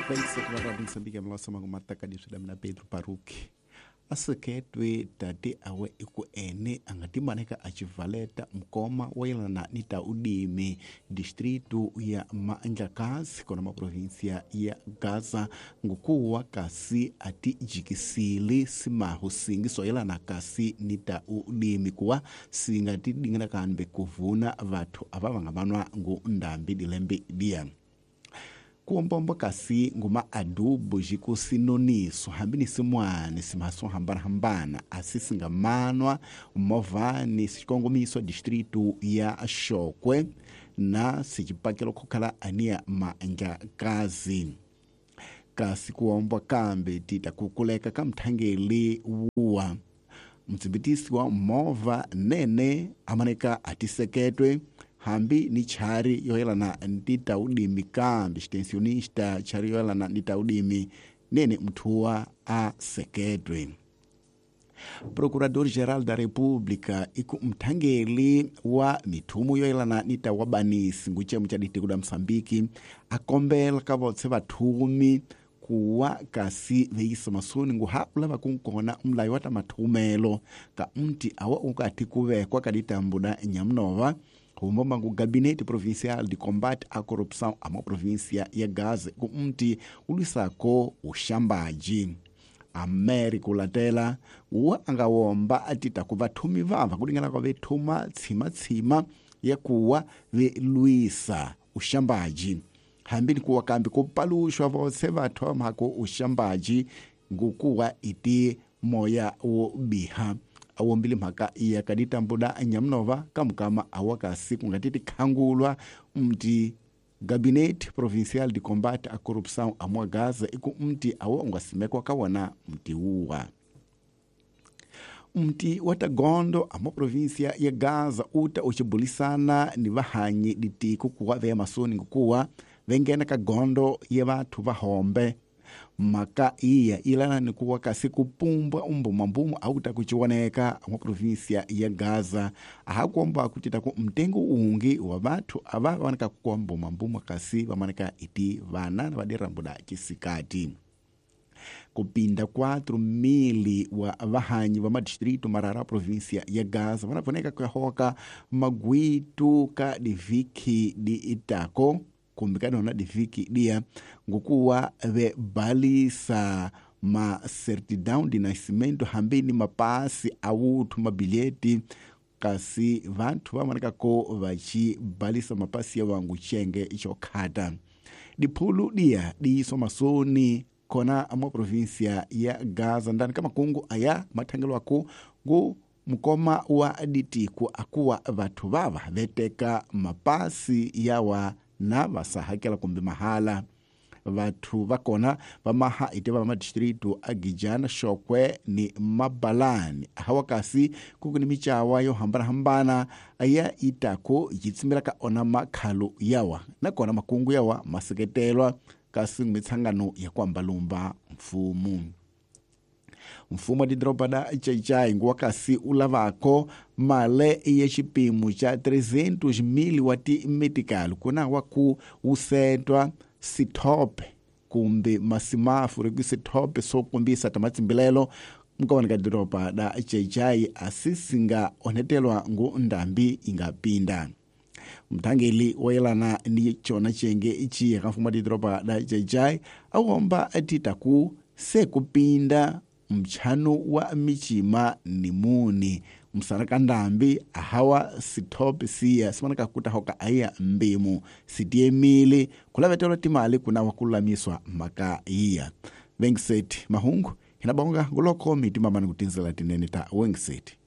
27 va Radio Moçambique mlosama ngumatakadiswi Pedro Paruki aseketwe tate awe iku ene angatimaneka achivaleta mkoma wayelana ni ta udimi distritu ya Mandlakazi kona maprovinsia ya Gaza ngukuwa kasi atijikisile simahu singi soyelana kasi ni ta udimi kuwa singatidingana kambe kuvuna vathu ava vangavanwa ngu ndambi dilembe dia kuombombo kasi nguma adubo jikusinoniso hambi ni simwani simaso hambana-hambana asi singamanwa movani sikongomiso distritu ya Xokwe na sicipakelo khukhala ania Mandlakazi kasi kuombwa kambe tita kukuleka ka mthangeli wuwa mtsimbitisi wa movha nene amaneka atiseketwe hambi ni chari yoyelana ndita udimi kambi extensionista chari yoyelana ndita udimi nene mthuwa aseketwe. Procurador-Geral da República iku mthangeli wa mithumu yoyelana nita wabanisi nguchemu cha ditiko da Moçambique akombela ka votse vathumi kuwa kasi veisa masoni nguha ulava kunkona mlayo wa ta mathumelo ka mti awa ukati kuvekwa ka ditambu da Nhamnova humbomba ngu Gabinete Provincial de Combate à Corrupção a província ya Gaza ku mti ulwisako uxambaji. Américo Latela wa angawomba atita ku vathumi vava kulingana kwa vethuma tsima-tsima ya kuwa velwisa uxambaji hambi ni kuwa kambi kupaluxwa votse vathu vamhako uxambaji ngukuwa iti moya wo biha awombile mhaka ya kaditambuda Nhamnova kamukama awakasi kungatiti khangulwa mti Gabinete Provincial de Combate à Corrupção amwa Gaza iku mti awa ungasimekwa ka wona mti wuwa mti wa tagondo ama província ya Gaza uta uchibulisana ni vahanyi ditiko kuwa veya masoni ngukuwa vengena ka gondo ya vathu vahombe maka iya ilana ni kuwa kasi kupumbwa umbumambumu auta kuchiwoneka mwa província ya Gaza ahakuomba kutita ku mtengo ungi wa vathu ava vaoneka kukuwa mbumambumu kasi vamaneka iti vana na vadirambuda chisikati. Kupinda 4.000 wa vahanyi va madistrito marara província ya Gaza vanavoneka kuyahoka magwitu ka diviki di itako kumbe ka nona diviki dia ngukuwa vebalisa ma certidão de nascimento hambi ni mapasi awuthu mabilheti kasi vanthu vamoneka ko vachibalisa mapasi ya vangu chenge chokhata diphulu dia diiswa masoni kona mwa província ya Gaza ndani ka makungu aya mathangelwaku ngu mukoma wa ditiku akuwa vathu vava veteka mapasi yawa na vasahakela kumbe mahala vathu vakona vamaha ite va madistritu a Gijana, Xokwe ni Mabalani hawa kasi kuku ni michawa yo hambanahambana aya itako yitsimela ka ona makhalo yawa nakona makungu yawa maseketelwa kasi mitsangano ya kuambalumba mfumo. Mfumo wa didoroba da Xai-Xai nguwa kasi ulavako male ya xipimo xa 300.000 wa timetikali kuna wa ku wusetwa sithope kumbe masimafuri ku sithope swo kombisa ta matsimbilelo mukavani ka doroba da Xai-Xai asi singa onhetelwa ngu ndambi inga pinda. Mthangeli wayelana ni chona chenge ichiya ka mfumo wa didoroba da Xai-Xai awomba atita ku se kupinda mchano wa michima ni muni msana ka ndambi ahawa sithope siya simanaka kuta hoka aya mbimu sitiemile kulavetelwa timali kuna wakululamiswa maka iya Wengset mahungu hinabonga nguloko mitima mani kutinzela tinene ta Wengset.